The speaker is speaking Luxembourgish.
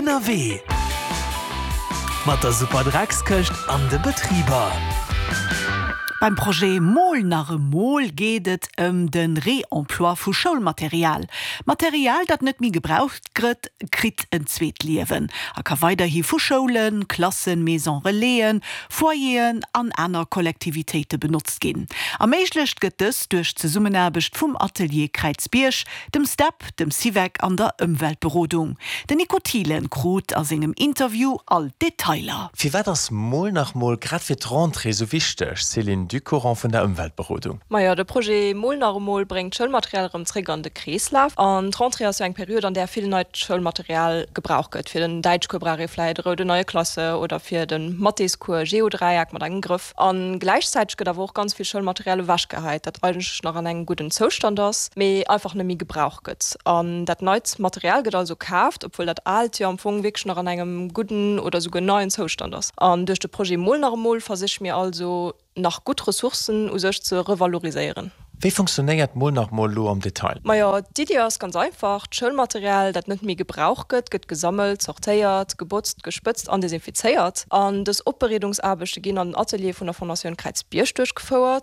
Ënnerwee mat der Superdreckskëscht an de Betriber. Beim Projet Mol nach emol geet et ëm de Réemploi vu Schoulmaterial. Material, dat net méi gebraucht grëtt, kritt en zweet Liewen a ka weiderhi vu Schoulen, Klassen, Maison Relaisen, Foyeren an aner Kollektivitéite benotzt ginn. Erméiglecht gëtt dëst duerch d'Zesummenaarbecht vum Atelier Kräizbierg, dem Step, dem Syvec an der Ëmweltberodung. Den Nico Thielen krut a sengem Interview all d'Detailer. Firwat ass Mol nach mol grad fir d'Rentrée sou wichteg? Céline Ducourant vun der Ëmweltberodung. Majo, de Projet Mol nach emol bréngt d'Schoulmaterial erëm zréck an de Kreeslaf. An d'Rentrée ass jo eng Period, an där vill neit Schoulmaterial gebrauch gëtt. Fir den Däitschcours brauch ee vläit e roude neie Klasse oder fir de Mathéscours e Geodräieck mat engem Grëff. A gläichzäiteg gëtt awer och ganz vill Schoulmaterial ewechgehäit, dat eigentlech nach an engem gudden Zoustand ass, mee einfach net méi gebrauch gëtt. An dat neit Material gëtt also kaaft, obwuel dat aalt jo am Fong wierklech nach an engem gudden oder souguer neien Zoustand ass. An duerch de Projet Mol nach emol versiche mir also, nach gutt Ressourcen u sech ze revaloriséieren. Wéi funktionéiert Mol nach mol elo am Detail? Majo, d'Iddi ass ganz einfach, D'Schoulmaterial, dat net méi gebrauch gëtt, gëtt gesammelt, sortéiert, gebotzt, gespëtzt an desinfizéiert. An dës Opbereedungsaarbechte ginn an den Ateliere vun der Fondatioun Kräizbierg duerchgefouert.